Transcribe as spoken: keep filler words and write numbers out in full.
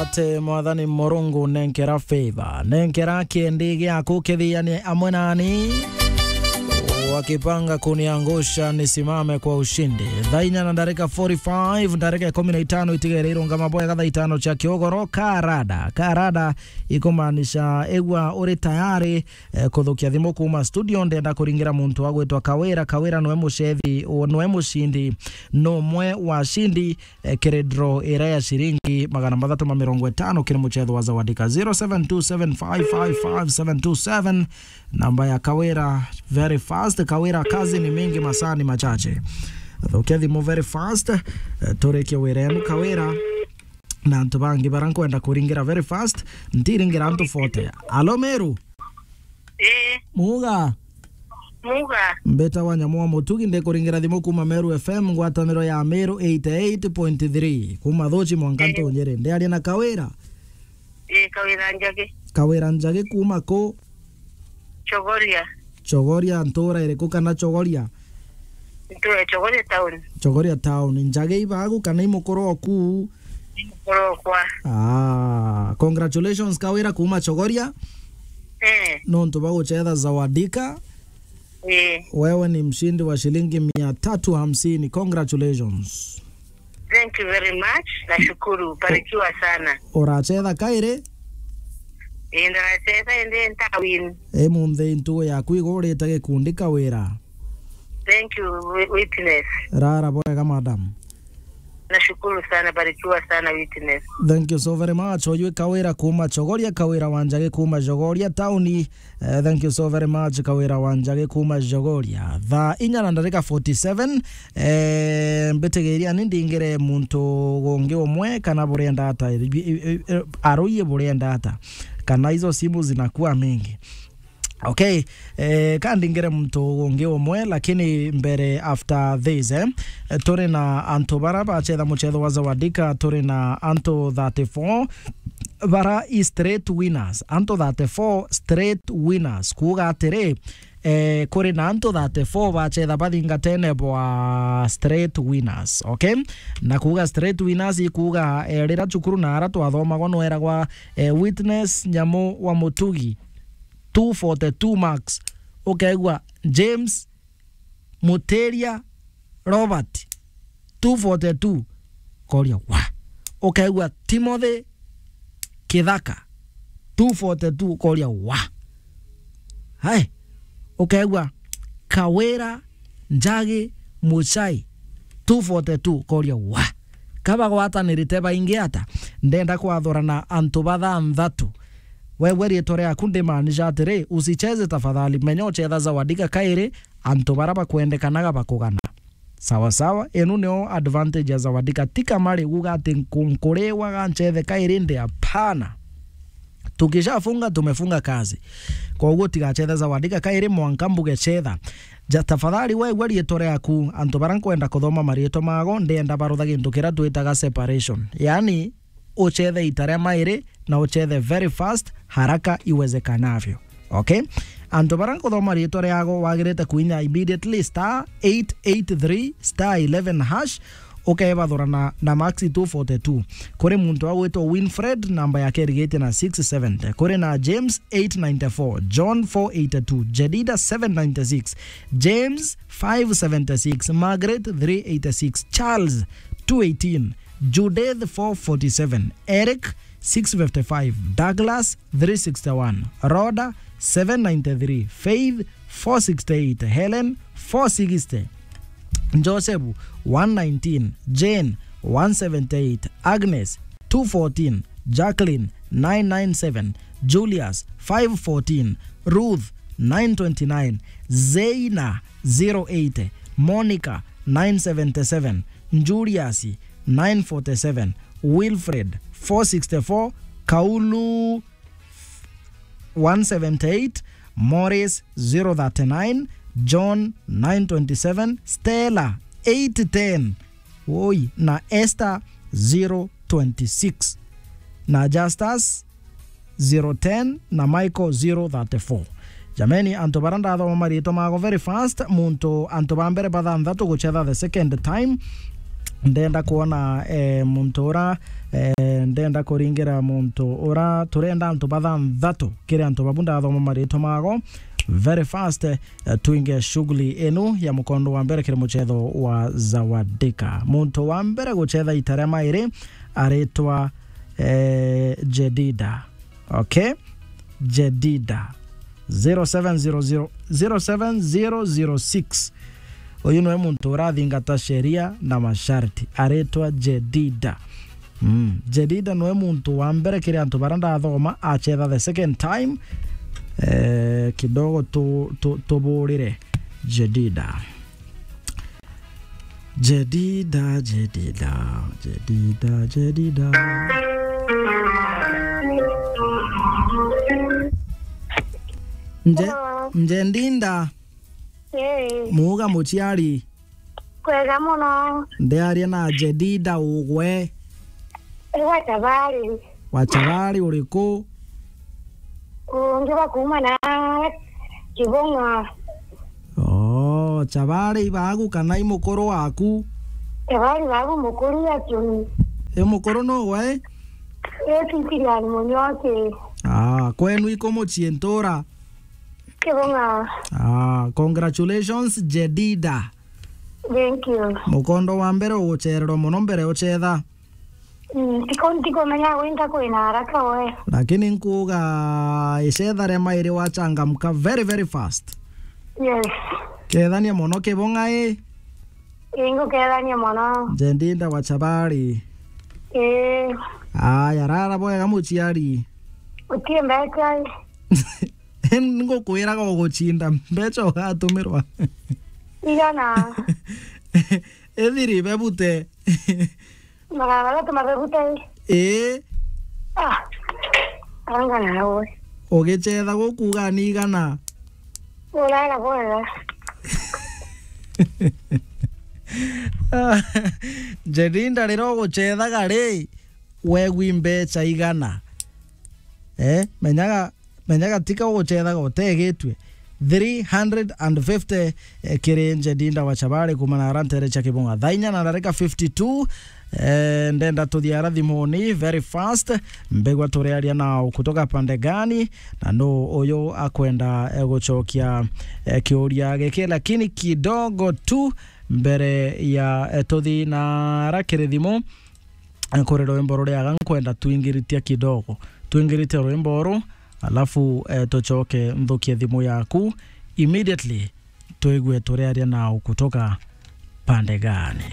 Ate Mwathani Murungu, nenkera favor, nenkera kiendi giaku kithiane amwe nani, wakipanga kuniangusha nisimame kwa ushindi. Thaa inya na ndarika forty-five, ndarika ikumi na itano itigere irungama bwega thaa itano cia kiugoro. Karada, karada ikumaanisha igua uri tayari, eh, kuthukia thimu kuuma studio. Ndenda kuringira muntu wa gwitwa Kawira. Kawira nwe mucethi, nwe mucindi, numwe wa cindi, eh, kiri draw iria ya ciringi magana mathatu ma mirongo itano kiri mucetho wa Zawadika. Zero seven two seven five five five seven two seven, namba ya Kawira. Very fast, Kawira, kazi ni mingi, masaa ni machache. Thukia thimu very fast, eh, turikie wira enu Kawira. Na antu bangi bara nkwenda kuringira very fast, ntiringira antu forty. Alo, Meru? Ii. Muga? Muga? Mbeta wa Nyamu wa Mutugi, ndikuringira thimu kuuma Meru F M, ngwataniro ya Meru eighty-eight point three. Kuuma Thuchi mwanka, ii, Ntunyiri. Ndiaria na Kawira? Ii, Kawira Njagi. Kawira Njagi kuuma ku? Chogoria. Chogoria ntura iriku kana Chogoria? Ntura Chogoria town. Chogoria town. Njagi ibagu kana imukuru oku? Imukuru okwa. Ah, congratulations Kawira kuuma Chogoria. Eh. Nontu ba gucetha Zawadika. Eh. Wewe ni mshindi wa shilingi mia tatu hamsini. Congratulations. Thank you very much. Nashukuru. Barikiwa sana. Uracetha kairi? Ii, ndaracetha indi ntawin. Imunthi ntugu yaku igurite gikundi Kawira. Thank you, wi-, witness. Rara bwega, madam. Nashukuru sana, barikiwa sana, witness. Thank you so very much. Oyu Kawira kuuma Chogoria, Kawira wa Njagi kuuma Chogoria tauni. Eh, thank you so very much, Kawira wa Njagi kuuma Chogoria. Thaa inya na ndarika forty-seven, eh, mbitigiria ni ndingire muntu gungi umwe kana burenda ata, eh, eh, eh, aruiye burenda ata, kana hizo simu zinakuwa mingi. Okay, eh, ka ndingire muntu ungi umwe, lakini mbere after this, eh, eh, turi na antu bara bacetha mucetho wa Zawadika, turi na antu thirty-four bara i straight winners, antu thirty-four straight winners, kuuga atiri, eh, kuri na antu thirty-four bacetha bathingatene bwa straight winners, okay? Na kuuga straight winners ikuuga, eh, rira cukuru na ara twathomagwa nweragwa, eh, witness Nyamu wa Mutugi, two forty-two marks. Ukaigua James Mutiria Robert, two forty-two, koria wa. Ukaigua Timothy Kithaka, two forty-two, koria wa. Hai, ukaigua Kawira Njagi Muchai, two forty-two, koria wa. Kabagwatanirite baingi ata, ndenda kwathurana antu bathanthatu. Wewe riitwa riaku ndimaanisha atiri, usicheze tafadhali, menya uchetha Zawadika kairi, antu bara bakwendekanaga bakugana. Sawa sawa, inu nio advantage ya Zawadika. Ti kama riuga ati nku-, nkuriwa ga nchethe kairi ndi, hapana. Tukishafunga, tumefunga kazi. Kwa uguo tigachethe Zawadika kairi, mwanka mbuge chetha. Ja, tafadhali wewe riitwa riaku, antu bara nkwenda kuthoma mariitwa mago, ndenda barutha gintu kiria twitaga separation. Yaani, uchethe ita ria mairi na uchethe very fast, haraka iwezekanavyo. Okay? Antu bara nkuthoma riitwa riago wagirite kuinya immediately star eight eight three star eleven hash, ukebathurana na Maxi two forty-two. Kuri muntu agwitwa Winfred, namba yake irigitie na six seventy. Kuri na James eight ninety-four, John four eighty-two, Jedida seven ninety-six, James five seventy-six, Margaret three eighty-six, Charles two eighteen, Judith four forty-seven, Eric six fifty-five, Douglas three sixty-one, Rhoda seven ninety-three, Faith four sixty-eight, Helen four sixty, Joseph one nineteen, Jane one seventy-eight, Agnes two fourteen, Jacqueline nine nine seven, Julius five fourteen, Ruth nine twenty-nine, Zeina zero eight, Monica nine seventy-seven, Julius nine forty-seven, Wilfred four sixty-four, Kaulu one seventy-eight, Morris zero thirty-nine, John nine twenty-seven, Stella eight ten, woi, na Esther zero twenty-six, na Justus zero ten na Michael zero thirty-four. Jameni, antu bara ndathoma mariitwa mago very fast, muntu, antu ba mbere bathanthatu guchetha the second time, Ndenda kwona, eh, muntu ura, eh, ndenda kuringira muntu ura, turenda antu bathanthatu kiri antu babu ndathoma maritwa mago very fast, eh, twinge shughuli inu ya mukondo wa mbere kiri muchetho wa Zawadika. Muntu wa mbere guchetha ita ria mairi aritwa, eh, Jedida. Okay? Jedida. Zero seven zero zero, zero seven zero zero six. Uyu niwe muntu urathingata sheria na masharti. Aritwa Jedida. Mm. Jedida niwe muntu wa mbere kiri antu baria ndathoma achetha the second time. Eh, kidogo tu, tu, tuburire Jedida. Jedida, Jedida, Jedida, Jedida. Nje-, Hello. Nje Ndinda. Hey. Muuga muciari. Kwega muno. Ndiaria na Jedida ugwe. Igwe tabari. Wa Chabari uriku? Ungi wa kuuma na Kibung'a. Oh, Chabari ibagu kana i mukuru waku? Chabari bagu mukuru ya Kiuni. I mukuru no we? Eti Kilian Munyoki. Ah, kwenu iko mucii ntura? Kibung'a. Ah, congratulations, Jedida. Thank you. Mukondo wa mbere uguchererwa muno mbere uchetha. Mm, tiko-, ntikumenya gwinka kwina haraka we. Lakini nkuuga icetha ria mairi wachangamka very, very fast. Yes. Kethania mono Kibung'a i. Ingukethania mono. Nje Ndinda wa Chabari. Ii. Aya, rara bwega muciari. Utie mbeca i. Ngukwiraga uguchinda mbeca ugatumirwa. Igana. Ithiri bebute. Magana mathatu mabebute. Ii. Ah. Anga nawe. Ugichetha gukuga ni igana. Urara bwega. Jedida, riria uguchethaga ri, wegwi mbeca igana? Eh, menyaga, menyaga tika ugucethaga utegitue. Three hundred and fifty, eh, kiri Jedida wa Chabari kuuma na ara ntere cia Kibung'a. Thaa inya na ndarika fifty-two, eh, ndenda tuthie ara thimuni very fast. Mbigwa turiaria nau kutoka pande gani, na nu uyu akwenda, eh, gucokia, eh, kiuria giki, lakini kidogo tu mbere ya, eh, tuthi na ara kiri thimu, eh, kuri rwimbo ruriaga nkwenda twingiritie kidogo. Twingiritie rwimbo ru, alafu, eh, tucoke nthukie thimu yaku immediately, twigue turiaria nau kutoka pande gani.